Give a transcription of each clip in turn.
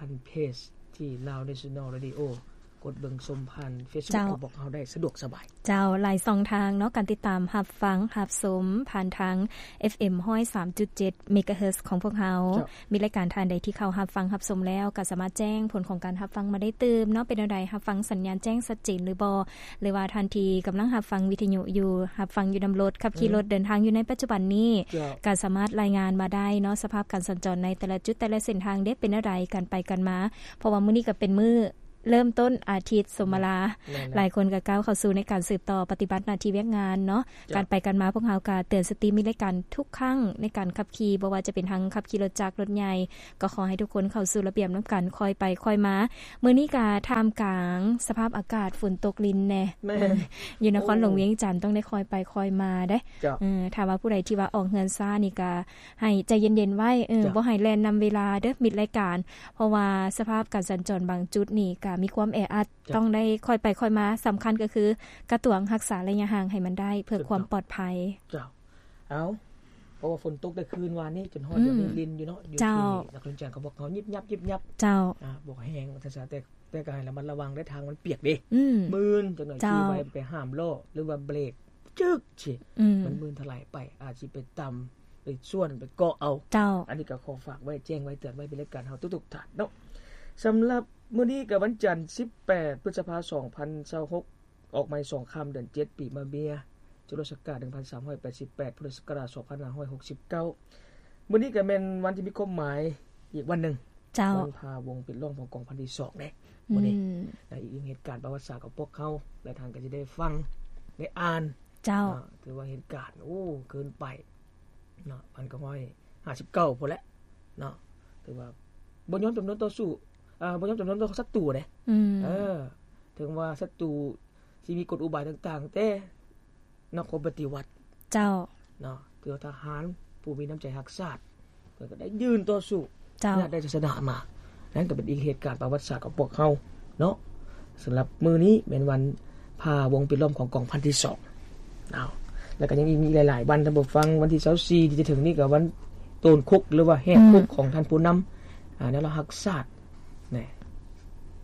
ຜ່ານເພຈທີ່ Lao National Radio ກົດເບິ່ງຊົມຜ່ານ Facebook ຂອງພວກເຮົາໄດ້ສະດວກສະບາຍ. ເຈົ້າ, ຫຼາຍຊ່ອງທາງເນາະ ການຕິດຕາມຮັບຟັງຮັບຊົມຜ່ານທາງ ເອັຟເອັມ ຮ້ອຍສາມຈຸດເຈັດ ເມກາເຮີດ ຂອງພວກເຮົາ. ມີລາຍການທ່ານໃດທີ່ເຂົ້າຮັບຟັງຮັບຊົມແລ້ວ ກໍສາມາດແຈ້ງຜົນຂອງການຮັບຟັງມາໄດ້ຕື່ມເນາະ, ເປັນແນວໃດ ຮັບຟັງສັນຍານແຈ້ງຊັດເຈນຫຼືບໍ່ ຫຼືວ່າທ່ານທີ່ກຳລັງຮັບຟັງວິທະຍຸຢູ່ ຮັບຟັງຢູ່ນຳລົດ ຂັບຂີ່ລົດເດີນທາງຢູ່ໃນປັດຈຸບັນນີ້ ກໍສາມາດລາຍງານມາໄດ້ເນາະ, ສະພາບການສັນຈອນໃນແຕ່ລະຈຸດແຕ່ລະເສັ້ນທາງເດ້ ເປັນແນວໃດ ການໄປການມາ ເພາະວ່າມື້ນີ້ກໍເປັນມື້ ເລີ່ມຕົ້ນອາທິດສົມມະລາ ຫຼາຍຄົນກໍກ້າວເຂົ້າສູ່ໃນການສືບຕໍ່ປະຕິບັດໜ້າທີ່ວຽກງານເນາະ. ການໄປການມາພວກເຮົາກໍເຕືອນສະຕິມີລາຍການທຸກຄັ້ງໃນການຂັບຂີ່ ບໍ່ວ່າຈະເປັນທັງຂັບຂີ່ລົດຈັກລົດໃຫຍ່ ກໍຂໍໃຫ້ທຸກຄົນເຂົ້າສູ່ລະບຽບນຳກັນ ຄ່ອຍໄປຄ່ອຍມາ. ມື້ນີ້ກໍທ່າມກາງສະພາບອາກາດຝົນຕົກລິນແດ່ ຢູ່ນະຄອນຫຼວງວຽງຈັນ ຕ້ອງໄດ້ຄ່ອຍໄປຄ່ອຍມາເດ້. ຖ້າວ່າຜູ້ໃດທີ່ວ່າອອກເຮືອນຊ້ານີ້ກໍ ໃຫ້ໃຈເຢັນໆໄວ້ ເອີ ບໍ່ໃຫ້ແລ່ນນຳເວລາເດີ້ ມິດລາຍການ ເພາະວ່າສະພາບການສັນຈອນບາງຈຸດນີ້ກະມີຄວາມແອອັດ ຕ້ອງໄດ້ຄ່ອຍໄປຄ່ອຍມາ. ສຳຄັນກໍຄືກະຕວງຮັກສາໄລຍະຫ່າງໃຫ້ມັນໄດ້ ເພື່ອຄວາມປອດໄພ. ເຈົ້າ ເອົ້າ ເພາະວ່າຝົນຕົກແຕ່ຄືນວານນີ້ ຈົນຮອດດຽວນີ້ລິນຢູ່ເນາະ ຢູ່ທີ່ນະຄອນຫຼວງວຽງຈັນ ກໍບອກເຮົາຍິບຍັບຍິບຍັບ. ເຈົ້າ ອາ ບໍ່ແຮງວ່າຊັ້ນຊະ ແຕ່ ແຕ່ກໍໃຫ້ລະມັດລະວັງເດີ ທາງມັນປຽກເດ້ ມື່ນຈັກໜ່ອຍ ຂີ່ໄວໄປຫ້າມລໍ້ ຫຼືວ່າເບຣກ ຈຶກຊິ ມັນມື່ນຖະຫຼາຍໄປ ອາດຊິໄປຕຳ ໄປຊວນ ໄປເກາະເອົາ. ເຈົ້າ ອັນນີ້ກໍຂໍຝາກໄວ້ ແຈ້ງໄວ້ ເຕືອນໄວ້ ເປັນລາຍການເຮົາທຸກໆທ່ານເນາະ. ສຳລັບມື້ນີ້ກໍວັນຈັນ ສິບແປດ ພຶດສະພາ ສອງພັນຊາວຫົກ ອອກໃໝ່ສອງຄ່ຳ ເດືອນເຈັດ ປີມະເມຍ ຈຸລະສັກກາດ ໜຶ່ງພັນສາມຮ້ອຍແປດສິບແປດ ພຸດທະສັກກະລາດ ສອງພັນຫ້າຮ້ອຍຫົກສິບເກົ້າ. ມື້ນີ້ກໍແມ່ນວັນທີ່ມີຄວາມໝາຍອີກວັນໜຶ່ງ. ເຈົ້າ ວັນພາວົງປິດລ້ອມຂອງກອງພັນທີສອງເດ້ ມື້ນີ້ ອືມ ແລະ ອີກໜຶ່ງເຫດການປະຫວັດສາດຂອງພວກເຮົາ ຫຼາຍທ່ານກໍຈະໄດ້ຟັງ ໄດ້ອ່ານ. ເຈົ້າ ເນາະ ຖືວ່າເຫດການ ໂອ້ ເກີນໄປເນາະ ພັນເກົ້າຮ້ອຍຫ້າສິບເກົ້າພຸ້ນແຫຼະເນາະ ຖືວ່າບໍ່ຍອມຈຳນວນຕໍ່ສູ້ ເອີ ບໍ່ຍອມຈຳນວນຕໍ່ສັດຕູເດ້ ອືມ ເອີ ເຖິງວ່າສັດຕູຊິມີກົນອຸບາຍຕ່າງໆ ແຕ່ ນະຄອນປະຕິວັດ ເຈົ້າ ເນາະ ຄືວ່າທະຫານຜູ້ມີນ້ຳໃຈຮັກຊາດ ເພິ່ນກໍໄດ້ຢືນຕໍ່ສູ້ ເຈົ້າ ແລະ ໄດ້ໄຊຊະນະມາ. ນັ້ນກໍເປັນອີກເຫດການປະຫວັດສາດຂອງພວກເຮົາເນາະ. ສຳລັບມື້ນີ້ແມ່ນວັນພາວົງປິດລ້ອມຂອງກອງພັນທີສອງ ເອົາ ແລ້ວກໍຍັງມີອີກຫຼາຍໆວັນ ທ່ານຜູ້ຟັງ. ວັນທີຊາວສີ່ທີ່ຈະເຖິງນີ້ກໍວັນໂຕນຄຸກ ຫຼືວ່າແຫກຄຸກ ອືມ ຂອງທ່ານຜູ້ນຳ ອາ ແນວລາວຮັກຊາດ ແນະ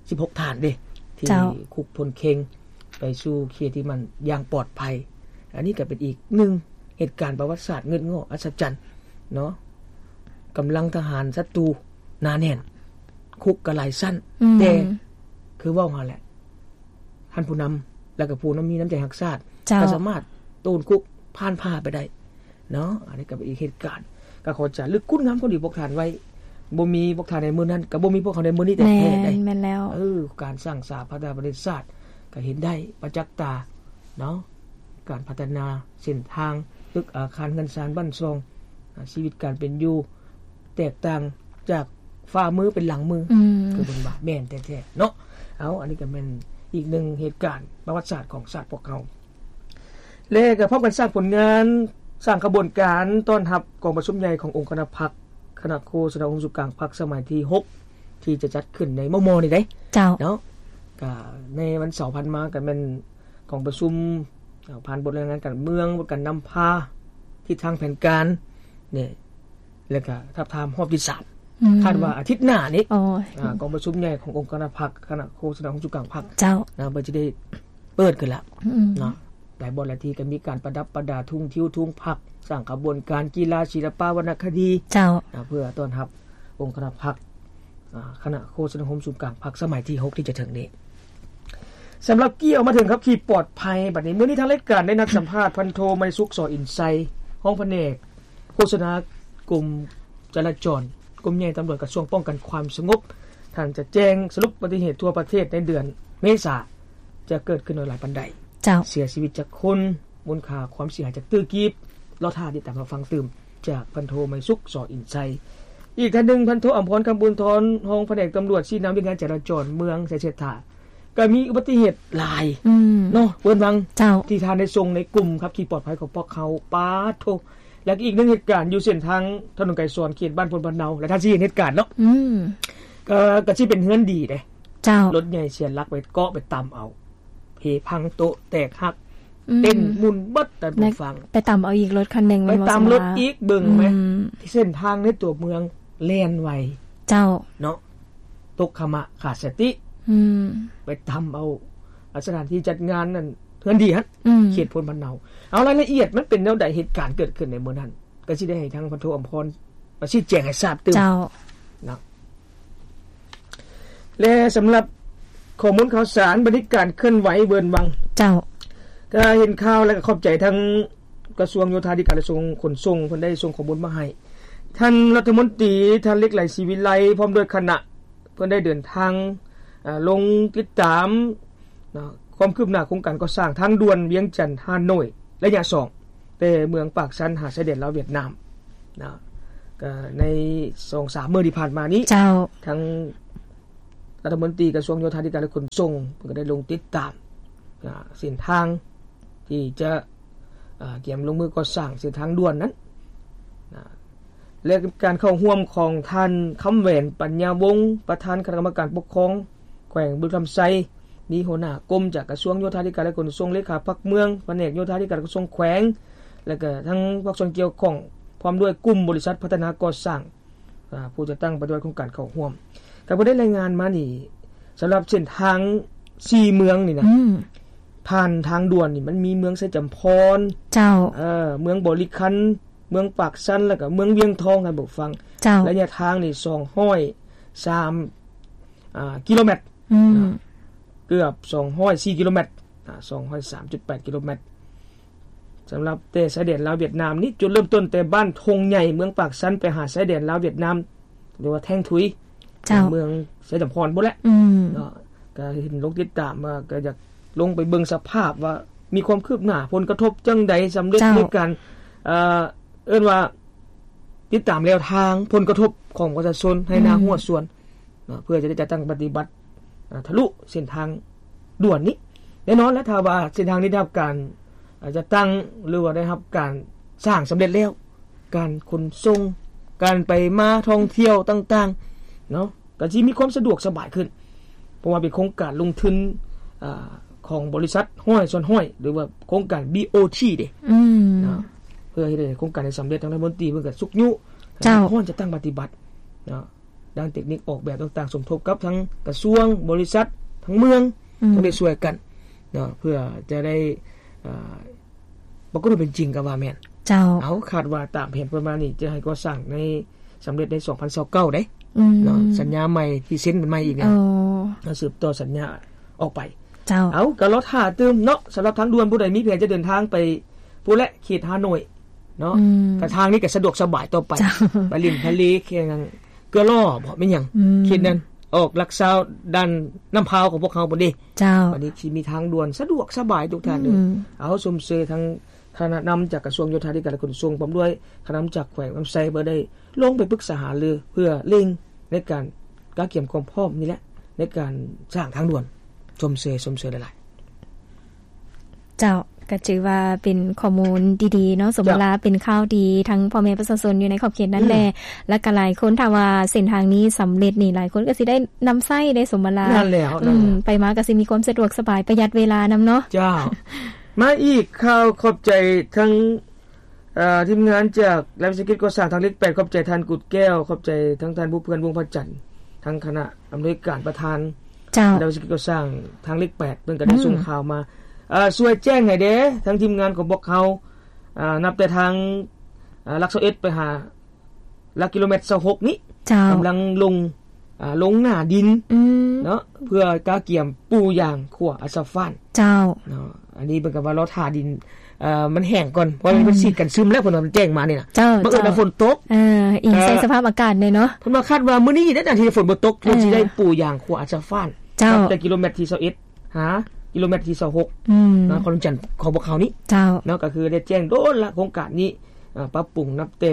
ສິບຫົກທ່ານເດ້ ທີ່ ເຈົ້າ ຄຸກພົ້ນເຄັງ ໄປສູ່ເຂດທີ່ມັນຢ່າງປອດໄພ. ອັນນີ້ກໍເປັນອີກໜຶ່ງເຫດການປະຫວັດສາດງຶດງໍ້ອັດສະຈັນເນາະ. ກຳລັງທະຫານສັດຕູໜາແໜ້ນ, ຄຸກກໍຫຼາຍຊັ້ນ, ອືມ ແຕ່ຄືເວົ້າຫັ້ນແຫຼະ, ທ່ານຜູ້ນຳ ແລ້ວກໍຜູ້ນຳມີນ້ຳໃຈຮັກຊາດ ເຈົ້າ ກໍສາມາດໂຕນຄຸກຜ່ານຜ່າໄປໄດ້. ເນາະ ອັນນີ້ກໍເປັນອີກເຫດການ ກໍຂໍຈະລຶກຄຸນງາມຄວາມດີພວກທ່ານໄວ້. ບໍ່ມີພວກທ່ານໃນມື້ນັ້ນ ກໍບໍ່ມີພວກເຮົາໃນມື້ນີ້ແທ້ໆ ແມ່ນ ໄດ໋ ແມ່ນແລ້ວ ເອີ ການສ້າງສາພັດທະນາປະເທດຊາດ ກໍເຫັນໄດ້ປະຈັກຕາເນາະ ການພັດທະນາເສັ້ນທາງ ຕຶກອາຄານເຮືອນຊານບ້ານຊ່ອງ ອາ ຊີວິດການເປັນຢູ່ແຕກຕ່າງຈາກຝ່າມືເປັນຫຼັງມື ອືມ ຄືເພິ່ນວ່າ ແມ່ນແທ້ໆເນາະ. ເອົາ ອັນນີ້ກໍແມ່ນອີກໜຶ່ງເຫດການປະຫວັດສາດຂອງຊາດພວກເຮົາ. ແລະກໍພ້ອມກັນສ້າງຜົນງານ, ສ້າງຂະບວນການຕ້ອນຮັບກອງປະຊຸມໃຫຍ່ຂອງອົງຄະນະພັກ, ຄະນະໂຄສະນາອົງສູນກາງພັກສະໄໝທີຫົກ ທີ່ຈະຈັດຂຶ້ນໃນມໍ່ໆນີ້ເດ້ ເຈົ້າ ເນາະ. ກໍໃນວັນເສົາຜ່ານມາກໍແມ່ນກອງປະຊຸມ ເອົາ ຜ່ານບົດລາຍງານການເມືອງ, ບົດການນຳພາ, ທິດທາງແຜນການນີ້ ແລ້ວກໍທາບທາມຮອບທີສາມ ອືມ ຄາດວ່າອາທິດໜ້ານີ້ ອາ ກອງປະຊຸມໃຫຍ່ຂອງອົງຄະນະພັກ, ຄະນະໂຄສະນາອົງສູນກາງພັກ ເຈົ້າ ນະ ເພິ່ນຈະໄດ້ ເປີດຂຶ້ນລະ ອືມ ເນາະ. ຫຼາຍບ່ອນຫຼາຍທີ່ກໍມີການປະດັບປະດາທຸງທິວທຸງພັກ, ສ້າງຂະບວນການກິລາ, ສິລະປະ, ວັນນະຄະດີ ເຈົ້າ ນະ ເພື່ອຕ້ອນຮັບອົງຄະນະພັກ ອາ ຄະນະໂຄສະນາອົງສູນກາງພັກສະໄໝທີຫົກ ທີ່ຈະເຖິງນີ້. ສຳລັບກ່ຽວມາເຖິງຂັບຂີ່ປອດໄພ ບັດນີ້ ມື້ນີ້ທາງລາຍການໄດ້ນັດສຳພາດ ພັນໂທ ໄມສຸກ ສໍອິນໄຊ ຮອງພະແນກໂຄສະນາກົມຈະລາຈອນ ກົມໃຫຍ່ຕຳຫຼວດກະຊວງປ້ອງກັນຄວາມສະຫງົບ. ທ່ານຈະແຈ້ງສະຫຼຸບອຸບັດຕິເຫດທົ່ວປະເທດໃນເດືອນເມສາ ຈະເກີດຂຶ້ນຫຼາຍປານໃດ, ເຈົ້າ ເສຍຊີວິດຈັກຄົນ, ມູນຄ່າຄວາມເສຍຫາຍຈັກຕື້ກີບ, ລໍຖ້າຕິດຕາມຮັບຟັງຕື່ມຈາກພັນໂທ ໄມສຸກ ສໍອິນໄຊ. ອີກທ່ານໜຶ່ງ ພັນໂທ ອຳພອນ ຄຳບຸນທອນ ຮອງພະແນກຕຳຫຼວດ ຊີ້ນຳວຽກງານຈະລາຈອນເມືອງໄຊເສດຖາ ກໍມີອຸບັດຕິເຫດຫຼາຍ ອືມ ເນາະ ເວີນວັງ ເຈົ້າ ທີ່ທ່ານໄດ້ສົ່ງໃນກຸ່ມຂັບຂີ່ປອດໄພຂອງພວກເຮົາ ປາດໂທ ແລະ ອີກໜຶ່ງເຫດການຢູ່ເສັ້ນທາງຖະໜົນໄກສອນ ເຂດບ້ານໂພນພະເນົາ ແລະ ທ່ານຊິເຫັນເຫດການເນາະ. ອືມ ກໍ ກໍຊິເປັນເຮືອນດີເດ້. ເຈົ້າ. ລົດໃຫຍ່ເສຍຫຼັກໄປເກາະໄປຕຳເອົາ ເພພັງໂຕະແຕກຫັກ ອືມ ເຕັ້ນໝຸ່ນເບິດ ທ່ານຜູ້ຟັງ. ໄປຕຳເອົາອີກລົດຄັນໜຶ່ງ ໄປຕຳລົດອີກ ເບິ່ງແມ ອືມ ເສັ້ນທາງໃນຕົວເມືອງແລ່ນໄວ. ເຈົ້າ. ເນາະ ຕົກຂະມະຂາດສະຕິ ອືມ ໄປຕຳເອົາສະຖານທີ່ຈັດງານນັ້ນ ເຮືອນດີຫັ້ນ ອືມ ເຂດໂພນພະເນົາ. ເອົາ ລາຍລະອຽດມັນເປັນແນວໃດ ເຫດການເກີດຂຶ້ນໃນມື້ນັ້ນ ກໍຊິໄດ້ໃຫ້ທາງພັນໂທອຳພອນມາຊີ້ແຈງໃຫ້ຊາບຕື່ມ. ເຈົ້າ. ເນາະ ແລະ ສຳລັບຂໍ້ມູນຂ່າວສານ ບັນທິການເຄື່ອນໄຫວເວີນວັງ. ເຈົ້າ. ກໍເຫັນຂ່າວ ແລະ ກໍຂອບໃຈທາງກະຊວງໂຍທາທິການ ແລະ ກະຊວງຂົນສົ່ງ ເພິ່ນໄດ້ສົ່ງຂໍ້ມູນມາໃຫ້. ທ່ານລັດຖະມົນຕີ ທ່ານ ເລກໄລ ສີວິໄລ ພ້ອມດ້ວຍຄະນະ ເພິ່ນໄດ້ເດີນທາງ ເອີ ລົງຕິດຕາມ ເນາະ ຄວາມຄືບໜ້າໂຄງການກໍ່ສ້າງທາງດ່ວນວຽງຈັນ-ຮ່າໂນ້ຍ ໄລຍະສອງ ແຕ່ເມືອງປາກຊັນຫາຊາຍແດນລາວຫວຽດນາມ ເນາະ ກໍໃນສອງສາມມື້ທີ່ຜ່ານມານີ້. ເຈົ້າ. ທາງລັດຖະມົນຕີກະຊວງໂຍທາທິການ ແລະ ຂົນສົ່ງ ເພິ່ນກໍໄດ້ລົງຕິດຕາມ ເສັ້ນທາງທີ່ຈະ ອາ ກຽມລົງມືກໍ່ສ້າງເສັ້ນທາງດ່ວນນັ້ນນະ ແລະ ການເຂົ້າຮ່ວມຂອງທ່ານ ຄຳແຫວນ ປັນຍາວົງ ປະທານຄະນະກຳມະການປົກຄອງແຂວງບໍລິຄຳໄຊ, ມີຫົວໜ້າກົມຈາກກະຊວງໂຍທາທິການ ແລະ ຂົນສົ່ງ, ເລຂາພັກເມືອງ, ພະແນກໂຍທາທິການກະຊວງແຂວງ ແລະ ກະທັງພາກສ່ວນກ່ຽວຂ້ອງ ພ້ອມດ້ວຍກຸ່ມບໍລິສັດພັດທະນາກໍ່ສ້າງ ອາ ຜູ້ຈັດຕັ້ງປະຕິບັດໂຄງການເຂົ້າຮ່ວມ. ກໍບໍ່ໄດ້ລາຍງານມານີ້ ສຳລັບເສັ້ນທາງສີ່ເມືອງນີ້ນະ ອືມ ຜ່ານທາງດ່ວນນີ້ ມັນມີເມືອງໄຊຈຳພອນ ເຈົ້າ ເອີ ເມືອງບໍລິຄັນ, ເມືອງປາກຊັນ ແລ້ວກໍເມືອງວຽງທອງ ທ່ານຜູ້ຟັງ. ເຈົ້າ. ໄລຍະທາງນີ້ສອງຮ້ອຍສາມ ອາ ກິໂລແມັດ ອືມ ເກືອບສອງຮ້ອຍສີ່ກິໂລແມັດ ອາ ສອງຮ້ອຍສາມຈຸດແປດກິໂລແມັດ. ສຳລັບແຕ່ຊາຍແດນລາວຫວຽດນາມນີ້ ຈຸດເລີ່ມຕົ້ນແຕ່ບ້ານທົ່ງໃຫຍ່ ເມືອງປາກຊັນ ໄປຫາຊາຍແດນລາວຫວຽດນາມ ຫຼືວ່າແທ່ງທຸຍ ເຈົ້າ ເມືອງໄຊຈຳພອນພຸ້ນແຫຼະ ອືມ ເນາະ. ກໍເຫັນລົງຕິດຕາມວ່າ ກໍຢາກລົງໄປເບິ່ງສະພາບວ່າ ມີຄວາມຄືບໜ້າ ຜົນກະທົບຈັ່ງໃດ ສຳເລັດ ເຈົ້າ ໃນການ ເອີ ເອີ້ນວ່າ ຕິດຕາມແນວທາງຜົນກະທົບຂອງປະຊາຊົນ ໄຮ່ນາ ອືມ ຮົ້ວສວນ ເນາະ ເພື່ອຈະໄດ້ຈັດຕັ້ງປະຕິບັດ ອາ ທະລຸເສັ້ນທາງດ່ວນນີ້. ແນ່ນອນແລ້ວ ຖ້າວ່າເສັ້ນທາງນີ້ໄດ້ຮັບການ ອາ ຈັດຕັ້ງ ຫຼືວ່າໄດ້ຮັບການສ້າງສຳເລັດແລ້ວ ການຂົນສົ່ງ ການໄປມາທ່ອງທ່ຽວຕ່າງໆ ເນາະ ກໍຊິມີຄວາມສະດວກສະບາຍຂຶ້ນ ເພາະວ່າເປັນໂຄງການລົງທຶນ ອາ ຂອງບໍລິສັດຮ້ອຍສ່ວນຮ້ອຍ ຫຼືວ່າໂຄງການ ບີໂອທີ ເດ້ ອືມ ເນາະ. ເພື່ອເຮັດໃຫ້ໂຄງການນີ້ສຳເລັດ ທາງລັດຖະມົນຕີເພິ່ນກໍຊຸກຍູ້ ເຈົ້າ ໃຫ້ພວກເຈົ້າຈັດຕັ້ງປະຕິບັດ ເນາະ ດ້ານເຕັກນິກອອກແບບຕ່າງໆ ສົມທົບກັບທາງກະຊວງ, ບໍລິສັດ, ທາງເມືອງ ອືມ ຕ້ອງໄດ້ຊ່ວຍກັນເນາະ ເພື່ອຈະໄດ້ ເອີ ປາກົດວ່າເປັນຈິງກໍວ່າແມ່ນ. ເຈົ້າ. ເອົາ ຄາດວ່າຕາມແຜນປະມານນີ້ ຈະໃຫ້ກໍ່ສ້າງໃນ ສຳເລັດໃນສອງພັນຊາວເກົ້າເດ້ ອືມ ເນາະ ສັນຍາໃໝ່ທີ່ເຊັນກັນໃໝ່ອີກ ເອີ ແລ້ວ ເອົາ ສືບຕໍ່ສັນຍາອອກໄປ. ເຈົ້າ. ເອົາ ກໍລໍຖ້າຕື່ມເນາະ ສຳລັບທາງດ່ວນ ຜູ້ໃດມີແຜນຈະເດີນທາງໄປພຸ້ນແຫຼະ ເຂດຮ່າໂນ້ຍເນາະ ອືມ ກະທາງນີ້ກໍສະດວກສະບາຍຕໍ່ໄປ ເຈົ້າ ໄປຫຼິ້ນທະເລ ແຂ່ງເກືອລໍ້ບໍ ແມ່ນຫຍັງ ອືມ ເຂດນັ້ນ ອອກຫຼັກຊາວດ່ານນ້ຳພາວຂອງພວກເຮົາພຸ້ນເດ້. ເຈົ້າ. ບັດນີ້ຊິມີທາງດ່ວນສະດວກສະບາຍທຸກທ່ານເລີຍ ອືມ ເອົາ ຊົມເຊີຍທັງຄະນະນຳຈາກກະຊວງໂຍທາທິການ ແລະ ຂົນສົ່ງ ພ້ອມດ້ວຍຄະນະນຳຈາກແຂວງນຳໄຊ ເພື່ອໄດ້ລົງໄປປຶກສາຫາລື ເພື່ອເລັ່ງໃນການກະກຽມຄວາມພ້ອມນີ້ແຫຼະ ໃນການສ້າງທາງດ່ວນ. ຊົມເຊີຍ ຊົມເຊີຍຫຼາຍໆ. ເຈົ້າ ກໍຖືວ່າເປັນຂໍ້ມູນດີໆເນາະ ສົມເວລາ ເປັນຂ່າວດີທັງພໍ່ແມ່ປະຊາຊົນຢູ່ໃນຂອບເຂດນັ້ນແຫຼະ ອືມ ແລ້ວກໍຫຼາຍຄົນ ຖ້າວ່າເສັ້ນທາງນີ້ສຳເລັດນີ້ ຫຼາຍຄົນກໍຊິໄດ້ນຳໃຊ້ໄດ້ສົມເວລາ ນັ້ນແຫຼະ ອືມ ນັ້ນແຫຼະ ໄປມາກໍຊິມີຄວາມສະດວກສະບາຍ ປະຢັດເວລານຳເນາະ. ເຈົ້າ. ມາອີກຂ່າວ ຂອບໃຈທັງ ເອີ ທີມງານຈາກລັດວິສາຫະກິດກໍ່ສ້າງທາງເລກແປດ ຂອບໃຈທ່ານກຸດແກ້ວ ຂອບໃຈທັງທ່ານບຸບເພື່ອນ ວົງພະຈັນ ທັງຄະນະອຳນວຍການປະທານ ເຈົ້າ ລັດວິສາຫະກິດກໍ່ສ້າງທາງເລກແປດ ເພິ່ນກໍໄດ້ ອືມ ສົ່ງຂ່າວມາ ເອີ ຊ່ວຍແຈ້ງໃຫ້ແດ່ ທາງທີມງານຂອງພວກເຮົາ ເອີ ນັບແຕ່ທາງ ເອີ ຫຼັກຊາວເອັດ ໄປຫາ ຫຼັກກິໂລແມັດຊາວຫົກນີ້ ເຈົ້າ ກຳລັງລົງ ອ່າ ລົງໜ້າດິນ ອືມ ເນາະ ເພື່ອກະກຽມປູຢາງຂົວອາສະຟານ ເຈົ້າ ເນາະ. ອັນນີ້ເພິ່ນກໍວ່າລໍຖ້າດິນ ເອີ ມັນແຫ້ງກ່ອນ ເພາະວ່າ ອືມ ເພິ່ນສີດກັນຊຶມແລ້ວ ເພິ່ນວ່າມັນແຈ້ງມານີ້ນະ ເຈົ້າ ບັງເອີນວ່າ ເຈົ້າ ຝົນຕົກ ເອີ ອີງໃສ່ ເອີ ສະພາບອາກາດແດ່ເນາະ ເພິ່ນວ່າຄາດວ່າມື້ນີ້ເດ້ນະ ທີ່ຝົນບໍ່ຕົກ ເອີ ເພິ່ນຊິໄດ້ປູຢາງຂົວອາສະຟານ ເຈົ້າ ນັບແຕ່ກິໂລແມັດທີຊາວເອັດ ຫາກິໂລແມັດທີຊາວຫົກ ອືມ ນະຄອນຫຼວງວຽງຈັນຂອງພວກເຮົານີ້ ເຈົ້າ ເນາະ ກໍຄືໄດ້ແຈ້ງໂດນລະ ໂຄງການນີ້ ເອີ ປັບປຸງນັບແຕ່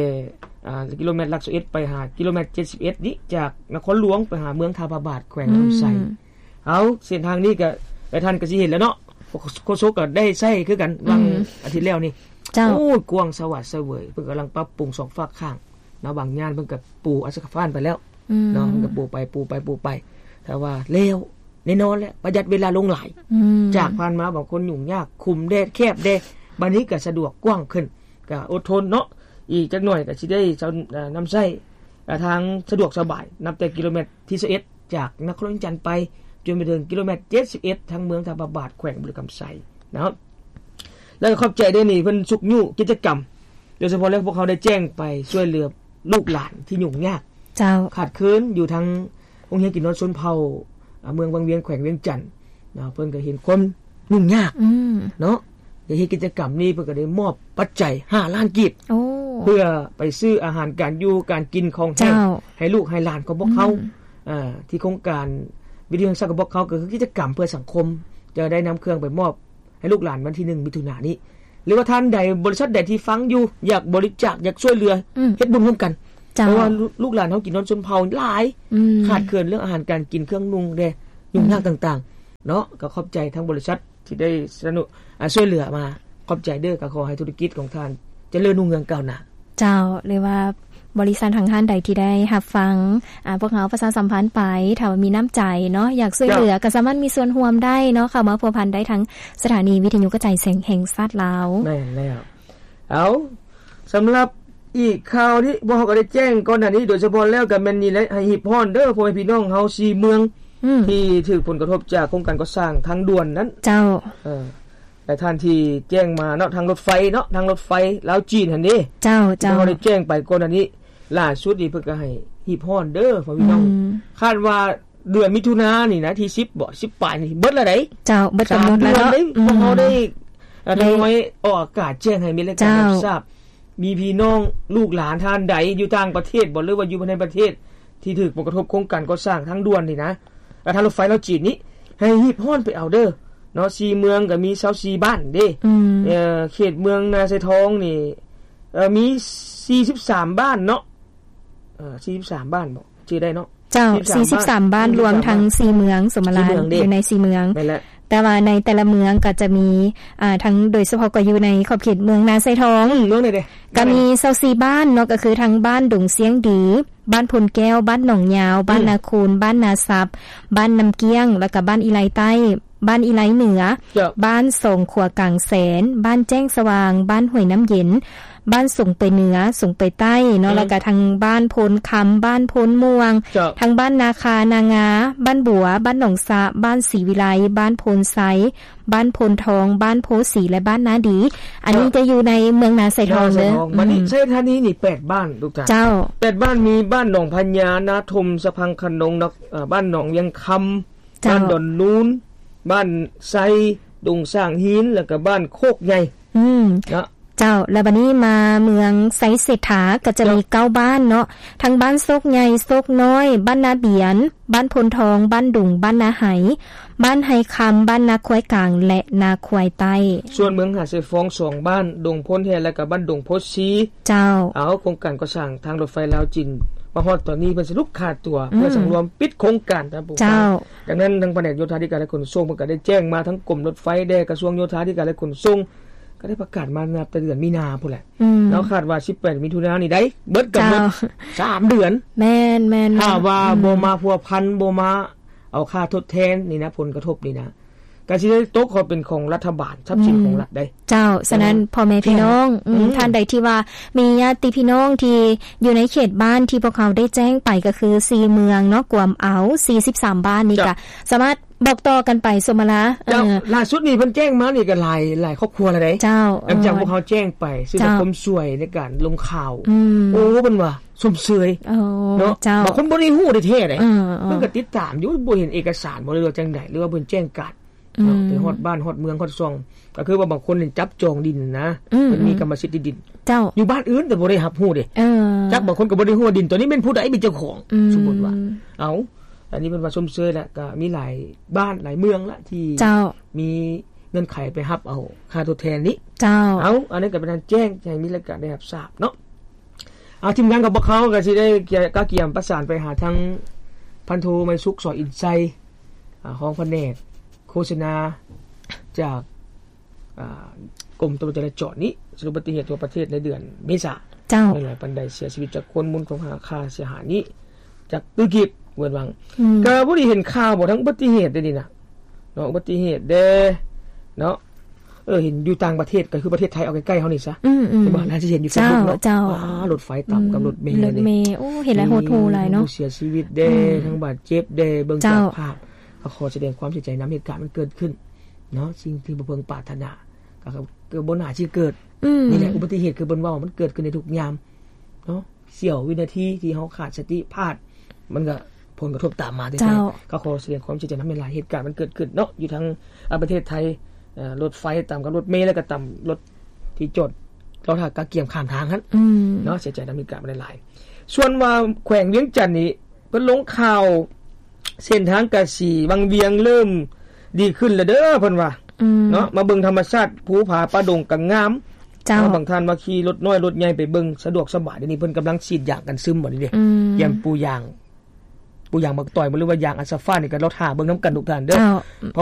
ອ່າ ກິໂລແມັດຫຼັກຊາວເອັດ ໄປຫາກິໂລແມັດເຈັດສິບເອັດນີ້ ຈາກນະຄອນຫຼວງໄປຫາເມືອງທ່າພະບາດ ແຂວງ ອືມ ລຳໄຊ. ເອົາ ເສັ້ນທາງນີ້ກໍຫຼາຍທ່ານກໍຊິເຫັນແລ້ວເນາະ ໂຄສົກກໍໄດ້ໃຊ້ຄືກັນ ອືມ ຫວ່າງອາທິດແລ້ວນີ້ ເຈົ້າ ໂອ້ຍ ກວ້າງສະຫວາດສະເຫວີຍ ເພິ່ນກຳລັງປັບປຸງສອງຟາກຂ້າງເນາະ ບາງຍ່ານເພິ່ນກໍປູອາສະກະຟານໄປແລ້ວ ອືມ ເນາະ ເພິ່ນກໍປູໄປ ປູໄປ ປູໄປ ແຕ່ວ່າແລ້ວ ແນ່ນອນແຫຼະ ປະຢັດເວລາລົງຫຼາຍ ອືມ ຈາກຜ່ານມາບາງຄົນຫຍຸ້ງຍາກ ຂຸມແດ່ ແຄບແດ່ ບາດນີ້ກໍສະດວກກວ້າງຂຶ້ນ ກໍອົດທົນເນາະ ອີກຈັກໜ່ອຍກໍຊິໄດ້ ເອີ ນຳໃຊ້ ເອີ ທາງສະດວກສະບາຍ ນັບແຕ່ກິໂລແມັດທີຊາວເອັດ ຈາກນະຄອນຫຼວງວຽງຈັນໄປ ຈົນໄປເຖິງກິໂລແມັດເຈັດສິບເອັດ ທາງເມືອງທ່າພະບາດ ແຂວງບໍລິຄຳໄຊເນາະ ແລ້ວກໍຂອບໃຈເດ້ນີ້ ເພິ່ນຊຸກຍູ້ກິດຈະກຳ ໂດຍສະເພາະແລ້ວພວກເຮົາໄດ້ແຈ້ງໄປຊ່ວຍເຫຼືອລູກຫຼານທີ່ຫຍຸ້ງຍາກ ເຈົ້າ ຂາດເຂີນຢູ່ທາງໂຮງຮຽນກິນນອນຊົນເຜົ່າ ອາ ເມືອງວັງວຽງ ແຂວງວຽງຈັນເນາະ ເພິ່ນກໍເຫັນຄວາມຫຍຸ້ງຍາກ ອືມ ເນາະ ໄດ້ເຮັດກິດຈະກຳນີ້ ເພິ່ນກໍໄດ້ມອບປັດໄຈຫ້າລ້ານກີບ ໂອ້ ເພື່ອໄປຊື້ອາຫານການຢູ່ການກິນຂອງແຫ້ງ ເຈົ້າ ໃຫ້ລູກໃຫ້ຫຼານຂອງພວກເຮົາ ອືມ ອາ ທີ່ໂຄງການວິທະຍຸແຫ່ງຊາດຂອງພວກເຮົາ ກໍຄືກິດຈະກຳເພື່ອສັງຄົມ ຈະໄດ້ນຳເຄື່ອງໄປມອບໃຫ້ລູກຫຼານວັນທີໜຶ່ງ ມິຖຸນານີ້ ຫຼືວ່າທ່ານໃດ ບໍລິສັດໃດທີ່ຟັງຢູ່ ຢາກບໍລິຈາກ ຢາກຊ່ວຍເຫຼືອ ອືມ ເຮັດບຸນຮ່ວມກັນ ເຈົ້າ ເພາະວ່າລູກ ລູກຫຼານເຮົາກິນນອນຊົນເຜົ່າຫຼາຍ ອືມ ຂາດເຂີນເລື່ອງອາຫານການກິນ ເຄື່ອງນຸ່ງແດ່ ຫຍຸ້ງຍາກ ອືມ ຕ່າງໆ ເນາະ ກໍຂອບໃຈທາງບໍລິສັດ ທີ່ໄດ້ສະໜັບສະໜູນ ອາ ຊ່ວຍເຫຼືອມາ ຂອບໃຈເດີ້ ກໍຂໍໃຫ້ທຸລະກິດຂອງທ່ານຈະເລີນຮຸ່ງເຮືອງກ້າວໜ້າ. ເຈົ້າ ຫຼືວ່າບໍລິສັດທາງທ່ານໃດທີ່ໄດ້ຮັບຟັງ ອາ ພວກເຮົາປະຊາສຳພັນໄປ ຖ້າວ່າມີນ້ຳໃຈເນາະ ຢາກຊ່ວຍເຫຼືອ ເຈົ້າ ກໍສາມາດມີສ່ວນຮ່ວມໄດ້ເນາະ ເຂົ້າມາພົວພັນໄດ້ທາງສະຖານີວິທະຍຸກະຈາຍສຽງແຫ່ງຊາດລາວ. ແມ່ນແລ້ວ. ເອົາ ສຳລັບອີກຂ່າວທີ່ພວກເຮົາກໍໄດ້ແຈ້ງກ່ອນໜ້ານີ້ ໂດຍສະເພາະແລ້ວກໍແມ່ນນີ້ແຫຼະ ໃຫ້ຮີບຮ້ອນເດີ້ ພໍ່ແມ່ພີ່ນ້ອງເຮົາສີ່ເມືອງ ອືມ ທີ່ຖືກຜົນກະທົບຈາກໂຄງການກໍ່ສ້າງທາງດ່ວນນັ້ນ ເຈົ້າ ເອີ ຫຼາຍທ່ານທີ່ແຈ້ງມາເນາະ ທາງລົດໄຟເນາະ ທາງລົດໄຟລາວຈີນຫັ້ນເດ້ ເຈົ້າ ທີ່ເຮົາໄດ້ແຈ້ງໄປກ່ອນໜ້ານີ້ ຫຼ້າສຸດນີ້ເພິ່ນກໍໃຫ້ຮີບຮ້ອນເດີ້ ພໍ່ແມ່ພີ່ນ້ອງ ອືມ ຄາດວ່າເດືອນມິຖຸນານີ້ນະ ທີສິບບໍ ສິບປາຍນີ້ ເບິດແລ້ວໃດ໋ ເຈົ້າ ເບິດກຳນົດແລ້ວເນາະ ອືມ ພວກເຮົາໄດ້ ອາ ໄດ້ ນ້ອຍອອກອາກາດແຈ້ງໃຫ້ມີແລະ ເຈົ້າ ການຮັບຊາບ ມີພີ່ນ້ອງລູກຫຼານທ່ານໃດຢູ່ຕ່າງປະເທດບໍ ຫຼືວ່າຢູ່ພາຍໃນປະເທດ ທີ່ຖືກຜົນກະທົບໂຄງການກໍ່ສ້າງທາງດ່ວນນີ້ນະ ແລະ ທາງລົດໄຟລາວຈີນນີ້ ໃຫ້ຮີບຮ້ອນໄປເອົາເດີ້ເນາະ ສີ່ເມືອງກໍມີຊາວສີ່ບ້ານເດ້ ອືມ ເອີ ເຂດເມືອງນາຊາຍທອງນີ້ ເອີ ມີສີ່ສິບສາມບ້ານເນາະ ເອີ ສີ່ສິບສາມບ້ານບໍ ຈື່ໄດ້ເນາະ ເຈົ້າ ສີ່ສິບສາມບ້ານ ສີ່ສິບສາມບ້ານ ລວມທັງສີ່ເມືອງ ສົມມະລານ ຢູ່ໃນສີ່ເມືອງ ແມ່ນແຫຼະ ແຕ່ວ່າໃນແຕ່ລະເມືອງກໍຈະມີ ອາ ທັງ ໂດຍສະເພາະກໍຢູ່ໃນຂອບເຂດເມືອງນາຊາຍທອງ ອືມ ເມືອງໃດເດ້ ກໍມີຊາວສີ່ບ້ານເນາະ ກໍຄືທັງບ້ານດົງຊຽງດີ ບ້ານໂພນແກ້ວ ບ້ານໜອງຍາວ ອືມ ບ້ານນາຄູນ ບ້ານນາຊັບ ບ້ານນ້ຳກ້ຽງ ແລ້ວກໍບ້ານອີໄລໃຕ້ ບ້ານອີໄລເໜືອ ເຈົ້າ ບ້ານສອງຂົວກາງແສນ ບ້ານແຈ້ງສະຫວ່າງ ບ້ານຫ້ວຍນ້ຳເຢັນ ບ້ານສົງໄປເໜືອ ສົງໄປໃຕ້ເນາະ ອືມ ແລ້ວກໍທັງບ້ານໂພນຄຳ ບ້ານໂພນມ່ວງ ເຈົ້າ ທັງບ້ານນາຄາ ນາງາ ບ້ານບົວ ບ້ານໜອງສະ ບ້ານສີວິໄລ ບ້ານໂພນໄຊ ບ້ານໂພນທອງ ບ້ານໂພສີ ແລະ ບ້ານນາດີ ອັນນີ້ ເຈົ້າ ຈະຢູ່ໃນເມືອງນາຊາຍທອງເດີ້ ນາຊາຍທອງ ອືມ ບັດນີ້ໄຊທານີນີ້ແປດບ້ານ ລູກຈານ ເຈົ້າ ແປດບ້ານ ມີບ້ານໜອງພະຍາ ນາທົມ ສະພັງຂະນົງ ນະ ເອີ ບ້ານໜອງວຽງຄຳ ເຈົ້າ ບ້ານດອນນູນ ບ້ານໄຊ ດົງສ້າງຫີນ ແລ້ວກໍບ້ານໂຄກໃຫຍ່ ອືມ ເນາະ ເຈົ້າ ແລ້ວບັດນີ້ມາເມືອງໄຊເສດຖາ ກໍຈະມີ ເຈົ້າ ເກົ້າບ້ານເນາະ ທັງບ້ານໂຊກໃຫຍ່ ໂຊກນ້ອຍ ບ້ານນາບຽນ ບ້ານໂພນທອງ ບ້ານດຸງ ບ້ານນາໄຫ ບ້ານໄຮຄຳ ບ້ານນາຄວາຍກາງ ແລະ ນາຄວາຍໃຕ້ ສ່ວນເມືອງມະຫາໄຊຟອງ ສອງບ້ານ ດົງໂພນແຮ່ ແລະ ກໍບ້ານດົງໂພສີ ເຈົ້າ ເອົາ ໂຄງການກໍ່ສ້າງທາງລົດໄຟລາວຈີນ ມາຮອດຕອນນີ້ເພິ່ນສະຫຼຸບຄາຕົວ ອືມ ເພື່ອສັງລວມປິດໂຄງການ ທ່ານຜູ້ ເຈົ້າ ດັ່ງນັ້ນ ທາງພະແນກໂຍທາທິການ ແລະ ຂົນສົ່ງ ເພິ່ນກໍໄດ້ແຈ້ງມາທາງກົມລົດໄຟແດ່ ກະຊວງໂຍທາທິການ ແລະ ຂົນສົ່ງ ກໍໄດ້ປະກາດມານັບແຕ່ເດືອນມີນາພຸ້ນແຫຼະ ອືມ ເນາະ ຄາດວ່າສິບແປດມິຖຸນານີ້ໄດ້ ເບິດກຳນົດ ເຈົ້າ ສາມເດືອນ ແມ່ນໆໆ ຖ້າວ່າ ອືມ ບໍ່ມາພົວພັນ ບໍ່ມາເອົາຄ່າທົດແທນນີ້ນະ ຜົນກະທົບນີ້ນະ ກໍຊິໄດ້ຕົກເຂົ້າເປັນຂອງລັດຖະບານ ຊັບສິນຂອງລັດເດ້ ເຈົ້າ ສະນັ້ນ ເອີ ພໍ່ແມ່ພີ່ນ້ອງ ອືມ ອືມ ທ່ານໃດທີ່ວ່າມີຍາດຕິພີ່ນ້ອງທີ່ຢູ່ໃນເຂດບ້ານທີ່ພວກເຮົາໄດ້ແຈ້ງໄປ ກໍຄືສີ່ເມືອງເນາະ ກວມເອົາສີ່ສິບສາມບ້ານນີ້ ເຈົ້າ ກໍສາມາດບອກຕໍ່ກັນໄປ ສົມມະລາ ເຈົ້າ ເອີ ລ່າສຸດນີ້ເພິ່ນແຈ້ງມານີ້ກໍຫຼາຍ ຫຼາຍຄອບຄົວແລ້ວເດ້ ເຈົ້າ ຫຼັງຈາກ ເອີ ພວກເຮົາແຈ້ງໄປ ເຊິ່ງ ເຈົ້າ ຄວາມຊ່ວຍໃນການລົງຂ່າວ ອືມ ໂອ້ ເພິ່ນວ່າ ຊົມເຊີຍ ໂອ້ ເນາະ ເຈົ້າ ບາງຄົນບໍ່ໄດ້ຮູ້ແທ້ໆເດ້ ເອີໆ ເພິ່ນກໍຕິດຕາມຢູ່ ບໍ່ເຫັນເອກະສານບໍ່ ຫຼືວ່າຈັ່ງໃດ ຫຼືວ່າເພິ່ນແຈ້ງການເນາະ ອືມ ໄປຮອດບ້ານຮອດເມືອງຮອດຊ່ອງ ກໍຄືວ່າບາງຄົນນີ້ຈັບຈອງດິນນະ ອືມໆ ເພິ່ນມີກຳມະສິດທີ່ດິນ ເຈົ້າ ຢູ່ບ້ານອື່ນແຕ່ບໍ່ໄດ້ຮັບຮູ້ເດ້ ເອີ ຈັກບາງຄົນກໍບໍ່ໄດ້ຮູ້ວ່າດິນຕົວນີ້ແມ່ນຜູ້ໃດເປັນເຈົ້າຂອງ ອືມ ສົມມຸດວ່າ ເອົາ ອັນນີ້ເພິ່ນວ່າຊົມເຊີຍແຫຼະ ກໍມີຫຼາຍບ້ານຫຼາຍເມືອງລະທີ່ ເຈົ້າ ມີເງື່ອນໄຂໄປຮັບເອົາຄ່າທົດແທນນີ້ ເຈົ້າ ເອົາ ອັນນັ້ນກໍເປັນການແຈ້ງໃຫ້ມີລາຍການໄດ້ຮັບຊາບເນາະ ເອົາ ທີມງານຂອງພວກເຮົາກໍຊິໄດ້ກະກຽມປະສານໄປຫາທາງພັນໂທ ໄມສຸກ ສອນອິນໄຊ ອາ ຮອງພະແນກໂຄສະນາ ຈາກ ອາ ກົມຕຳຫຼວດຈະລາຈອນນີ້ ສະຫຼຸບອຸບັດຕິເຫດທົ່ວປະເທດໃນເດືອນເມສາ ເຈົ້າ ມີຫຼາຍປານໃດ ເສຍຊີວິດຈັກຄົນ ມູນຄ່າຄ່າເສຍຫາຍນີ້ຈັກຕື້ກີບ ເວີນວັງ ອືມ ກໍບໍ່ໄດ້ເຫັນຂ່າວບໍ່ ທັງອຸບັດຕິເຫດເດ້ນີ້ນະ ເນາະ ອຸບັດຕິເຫດເດ້ເນາະ ເອີ ເຫັນຢູ່ຕ່າງປະເທດ ກໍຄືປະເທດໄທ ເອົາໃກ້ໆເຮົານີ້ຊະ ອືມໆ ເຫັນບໍ່ ໜ້າຈະເຫັນຢູ່ເຟສບຸກເນາະ ເຈົ້າ ອ່າ ລົດໄຟຕຳກັບ ອືມ ລົດເມ ລົດເມ ໂອ້ ເຫັນຫຼາຍ ໂຫດຫູ່ຫຼາຍເນາະ ມີຜູ້ເສຍຊີວິດເດ້ ອືມ ທັງບາດເຈັບເດ້ ເບິ່ງ ເຈົ້າ ຈາກພາບ ກໍຂໍສະແດງຄວາມເສຍໃຈນຳເຫດການມັນເກີດຂຶ້ນເນາະ ສິ່ງທີ່ບໍ່ເພິ່ງປາດຖະໜາ ກໍ ກໍບໍ່ໜ້າຊິເກີດ ອືມ ນີ້ແຫຼະ ອຸບັດຕິເຫດຄືເພິ່ນເວົ້າ ມັນເກີດຂຶ້ນໄດ້ທຸກຍາມເນາະ ສ່ຽວວິນາທີທີ່ເຮົາຂາດສະຕິພາດ ມັນກໍຜົນກະທົບຕາມມາແທ້ໆ ເຈົ້າ ກໍຂໍສະແດງຄວາມເສຍໃຈນຳຫຼາຍໆ ເຫດການມັນເກີດຂຶ້ນເນາະ ຢູ່ທາງ ອາ ປະເທດໄທ ເອີ ລົດໄຟຕຳກັບລົດເມ ແລ້ວກໍຕຳລົດທີ່ຈອດລໍຖ້າກະກຽມຂ້າມທາງຫັ້ນ ອືມ ເນາະ ເສຍໃຈນຳເຫດການມັນຫຼາຍໆ ສ່ວນວ່າແຂວງວຽງຈັນນີ້ ເພິ່ນລົງຂ່າວ ເສັ້ນທາງກະສີວັງວຽງເລີ່ມດີຂຶ້ນແລ້ວເດີ ເພິ່ນວ່າ ອືມ ເນາະ ມາເບິ່ງທຳມະຊາດພູຜາປ່າດົງກໍງາມ ເຈົ້າ ເນາະ ບາງທ່ານວ່າຂີ່ລົດນ້ອຍລົດໃຫຍ່ໄປເບິ່ງສະດວກສະບາຍ ດຽວນີ້ເພິ່ນກຳລັງສີດຢາກັນຊຶມ ບັດນີ້ເດ້ ອືມ ກຽມປູຢາງ ປູຢາງໝາກຕອຍ ບໍ່ ຫຼືວ່າຢາງອັນຊາຟ້ານີ້ ກໍລໍຖ້າເບິ່ງນຳກັນທຸກທ່ານເດີ ເຈົ້າ ເພາະວ່າ